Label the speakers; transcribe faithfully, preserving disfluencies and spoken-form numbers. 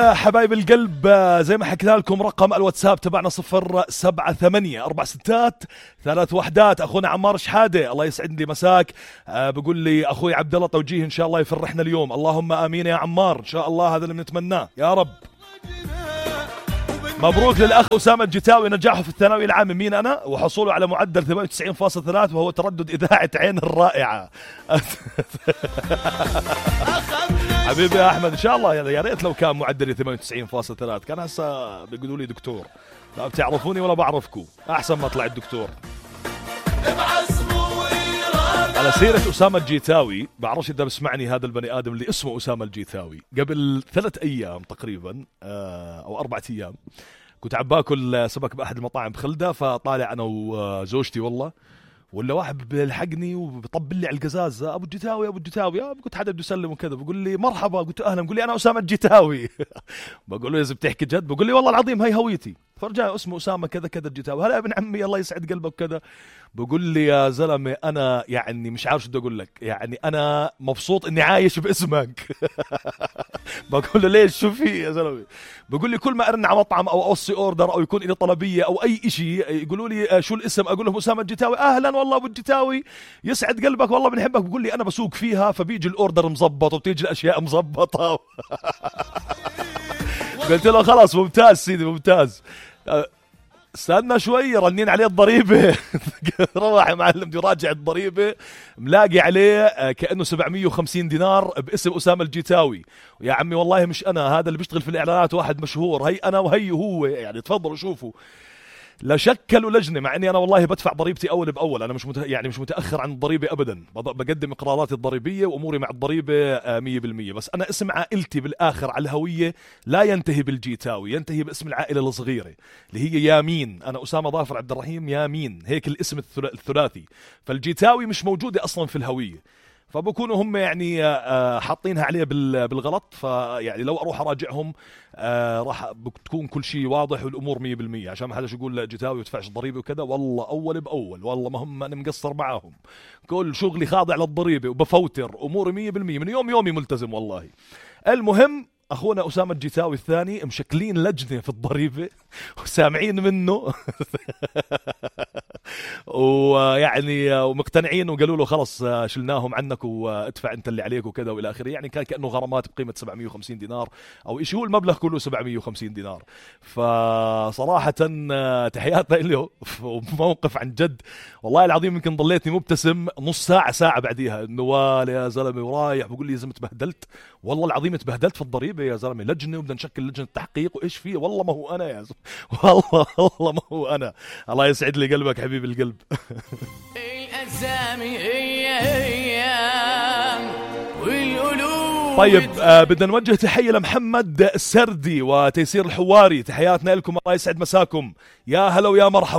Speaker 1: حبايب القلب زي ما حكينا لكم رقم الواتساب تبعنا صفر سبعة ثمانية أربع ستات ثلاث وحدات. أخونا عمار شحادة الله يسعد لي مساك أه بقول لي أخوي عبد الله توجيه إن شاء الله يفرحنا اليوم. اللهم آمين يا عمار إن شاء الله هذا اللي بنتمناه يا رب. مبروك للأخ أسامة الجتاوي نجاحه في الثانوي العام. مين أنا وحصوله على معدل ثمانية وتسعين فاصلة ثلاثة وهو تردد إذاعة عين الرائعة. حبيبي يا أحمد إن شاء الله يا ريت لو كان معدلي ثمانية وتسعين فاصلة ثلاثة كان هسه بيقولوا لي دكتور. لا بتعرفوني ولا بعرفكم أحسن ما طلع الدكتور. على سيرة أسامة الجيتاوي بعرفش إذا بسمعني هذا البني آدم اللي اسمه أسامة الجيتاوي. قبل ثلاث أيام تقريبا أو أربعة أيام كنت عم باكل سمك بأحد المطاعم بخلدة فطالع أنا وزوجتي والله ولا واحد بيلحقني وبيطبل لي على القزازة أبو الجتاوي أبو الجتاوي. قلت حدا بده يسلم وكذا بقول لي مرحبا قلت أهلا بقول لي أنا أسامة الجتاوي. بقول له إذا بتحكي جد بقول لي والله العظيم هاي هويتي. فرجع اسمه أسامة كذا كذا الجتاوي. هلا ابن عمي الله يسعد قلبك كذا. بقول لي يا زلمة أنا يعني مش عارف شو بدي أقول لك يعني أنا مبسوط إني عايش باسمك. بقول له ليش شو في يا زلمة. بقول لي كل ما أرن على مطعم أو أوصي أوردر أو يكون لي طلبية أو أي إشي يقولوا لي شو الاسم أقول لهم أسامة الجتاوي. أهلا والله أبو الجتاوي يسعد قلبك والله بنحبك. بقول لي أنا بسوق فيها فبيجي الأوردر مزبط وبتيجي الأشياء مزبطة. قلت له خلاص ممتاز سيدي ممتاز. استنى شوي رنين عليه الضريبة. روح يا معلم بدي راجع الضريبة ملاقي عليه كأنه سبعمية وخمسين دينار باسم أسامة الجيتاوي. يا عمي والله مش أنا هذا اللي بيشتغل في الإعلانات واحد مشهور هي أنا وهي هو يعني تفضلوا شوفوا. لا شكلوا لجنة مع اني انا والله بدفع ضريبتي اول باول. انا مش مت... يعني مش متاخر عن الضريبه ابدا. بقدم اقراراتي الضريبيه واموري مع الضريبه مية بالمية. بس انا اسم عائلتي بالاخر على الهويه لا ينتهي بالجيتاوي ينتهي باسم العائله الصغيره اللي هي يامين. انا اسامه ظافر عبد الرحيم يامين هيك الاسم الثلاثي. فالجيتاوي مش موجوده اصلا في الهويه فبكونوا هم يعني حاطينها عليه بالغلط. فيعني لو اروح اراجعهم راح بتكون كل شيء واضح والامور مية بالمية عشان ما حدا يقول جتاوي وتدفعش ضريبه وكذا. والله اول باول والله ما هم انا مقصر معاهم. كل شغلي خاضع للضريبه وبفوتر اموري مية بالمية من يوم يومي ملتزم والله. المهم أخونا أسامة الجيتاوي الثاني مشكلين لجنة في الضريبة وسامعين منه ويعني ومقتنعين وقالوا له خلص شلناهم عنك وادفع أنت اللي عليك وكذا وإلى آخره. يعني كان كأنه غرامات بقيمة سبعمية وخمسين دينار أو إيش هو المبلغ كله سبعمية وخمسين دينار. فصراحة تحياتنا له وموقف عن جد والله العظيم يمكن ضليتني مبتسم نص ساعة ساعة بعديها إنه والله يا زلمة ورايح بقول لي لازم تبهدلت والله العظيم تبهدلت في الضريبة يا زلمة. لجنة وبدنا نشكل لجنة تحقيق وإيش فيه والله ما هو أنا يا زلمة والله والله ما هو أنا. الله يسعد لي قلبك حبيب القلب. طيب آه بدنا نوجه تحية لمحمد السردي وتيسير الحواري. تحياتنا لكم الله يسعد مساكم يا هلا ويا مرحبا.